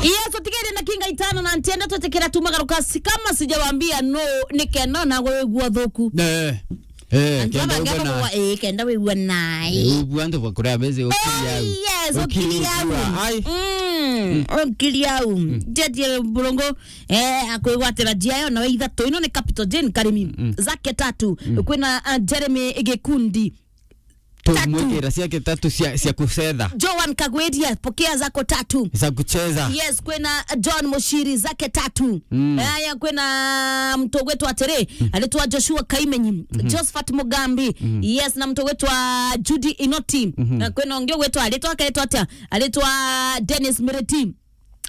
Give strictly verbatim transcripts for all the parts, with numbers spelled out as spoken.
Yes, utigere na kinga itano na ntienda twetekera tu magaruka si-, kama sijawaambia no, ni kenda na gwe wigua thuku. Eh. Eh, antu kenda aba wigua ngema nae. Kwa, eh, kenda wigua nae. Eh, wigua antu bakuria mezi. Oh, ukiri au. Yes, ukiri au. Ukiri au. Ai. Mm, ukiri au. Mm. Jeje burungu, eh, akwigwatira njia yo nawe ithatu. Ino ni Capital Jane Karimi. Mm. Zake tatu. Mm. Kwina, uh, Jeremy Gikundi. Tatu. Tumwikira ciake tatu cia, cia kucetha. Joan Kagweria, pokea zako tatu. Za kucheza. Yes, kwina John Mushiri, zake tatu. Mm. Aya, kwina mtu gwetwa atiri, mm, aritwa Joshua Kaimenyi, mhm, Josephat Mugambi. Mm. Yes, na mtu gwetwa Judy Inoti. Mhm. Na kwina ungi gwetwa, aritwa, akeetwa atia? Aritwa Dennis Miriti.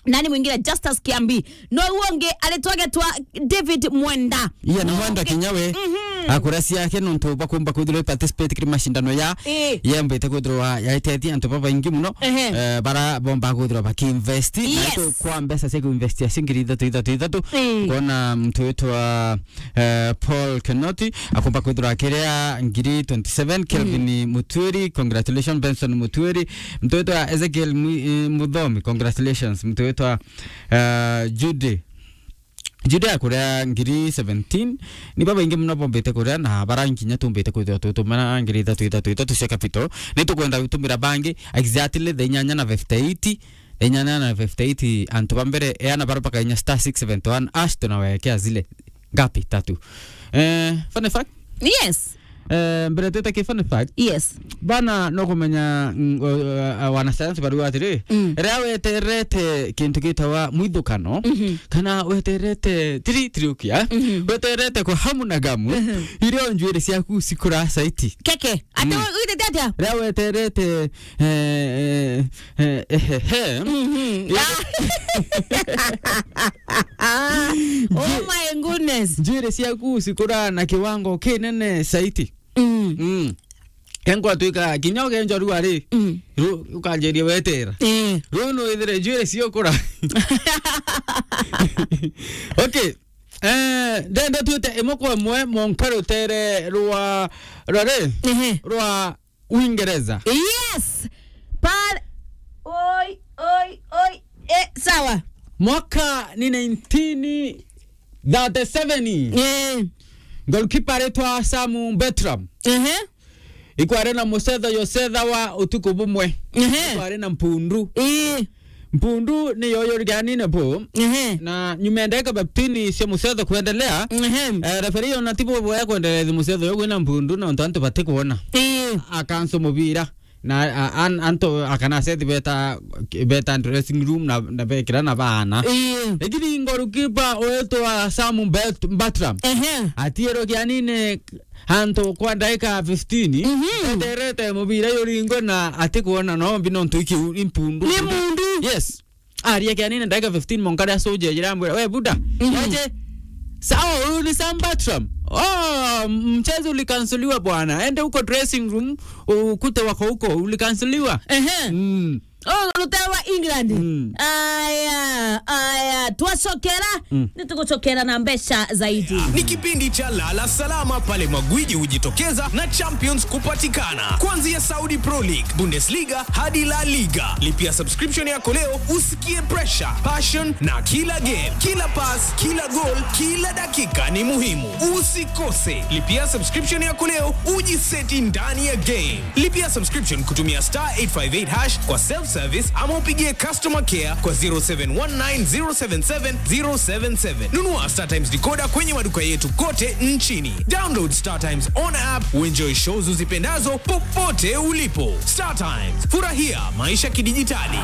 Nani mwingine? Justus Kiambi. No uonge aritwa getwa David Mwenda. Iya, na Mwenda uonge. Kinya we, mhm, akura ciake nontu bakumba kwithirwa participate kiri mashindano ya, eh, yembite kwithirwa yaitethia antu babaingi muno. Ehe. Eh, bara bomba kwithirwa bakiinvest. Yes. Na tu kwa mbeca cia kuinvestia cia ngiri ithatu, ithatu, ithatu. Mm. Kona mtu witwa, eh, Paul Kenoti akumba kwithirwa akiria ngiri twenty-seven. Kelvin, mm, Mutuiri, congratulations. Benson Mutuiri, mtu witwa Ezekiel Mwi-, eh, Muthomi, congratulations. Mtu witwa, eh, Judy. Judy akuria ngiri seventeen. Ni babaingi muno bombite kuria na bara nkinya tumbite kwithirwa tutumira ngiri ithatu, ithatu, ithatu cia capital. Ni tukwenda gutumira bangi exactly the inyanya na fifty-eight. Inyanya na fifty-eight, antu ba mbere, eana bara bakainya star six seventy-one hash, tunawekea zile ngapi? Tatu. Eh, fun fact? Yes. Eh, mbere twite ki fun fact. Yes. Bana, no kumenya, mm, o, o, wanasayansi bariuga atiri, mm, riria weterete kintu gitawa mwithukano, mhm, kana weterete tiri, tiri ukia, mhm, weterete kwa hamu na gamu, mhm, irio njuiri ciaku cikura saiti. Keke, ati, mm, witete atia? Riria weterete, eh, eh, eh, eh, eh, eh. Mhm. Oh my goodness. Njuiri ciaku cikura na kiwango kinene saiti. Mm. Mm. Enkwatuika kinya ukenjwa rua ri, mm, ru-, ukanjiria wetera. Eh. Riu no withire njuiri ciokura. Okay. Eh, ndenda twite imwe kwa imwe monka rutere rwa, rwa ri? Ehe. Rwa Uingereza. Yes. Pale. Oi, oi, oi. Eh, sawa. Mwaka ni nineteen thirty-seven. Eh. Goalkeeper aretwa Sam Bertram. Ehe. Ikware na mucetho yo cetha wa utuku bumwe. Ehe. Ikware na mpundu. Eh. Mpundu ni yo yoriganine bo. Ehe. Na nyuma ya ndagika fifteen cia mucetho kuendelea, ehe, eh, referee ona ti boboya kuendelea mucetho yo gwina mpundu na ontu antu batikwona. Eh. Akanso mubira. Na, a, an-, antu akana set beta, beta dressing room na, na bekira na baana. Eh. Lakini goalkeeper wetwa Sam Bet-, Bertram. Ehe. Atiero kianine antu kwa ndagika fifteen, mhm, eterete mubira yuringwe na atikwona nombi nontu iki u-, impundu. Ni mundu. Yes. Aria kianine ndagika fifteen, monka ria soja jirambwira, "We buda, mhm, wache, sawa, huyu ni Sam Bertram. Oh, mchezo ulikansoliwa bwana. Ende huko dressing room, ukute wako huko, ulikansoliwa." Ehe. Mm. Oh, rutere rwa England. Mm. Aya, aya, twacokera, mm, nitugucokera na mbeca zaidi. Ni kipindi cha Lala Salama pale magwiji hujitokeza na champions kupatikana. Kuanzia Saudi Pro League, Bundesliga hadi La Liga. Lipia subscription yako leo usikie pressure, passion na kila game, kila pass, kila goal, kila dakika ni muhimu. Usikose. Lipia subscription yako leo ujiseti ndani ya game. Lipia subscription kutumia star eight five eight hash kwa self service ama upigie customer care kwa zero seven one nine zero seven seven zero seven seven. Nunua Star Times decoder kwenye maduka yetu kote nchini. Download Star Times on app, uenjoy shows uzipendazo popote ulipo. Star Times, furahia maisha kidijitali.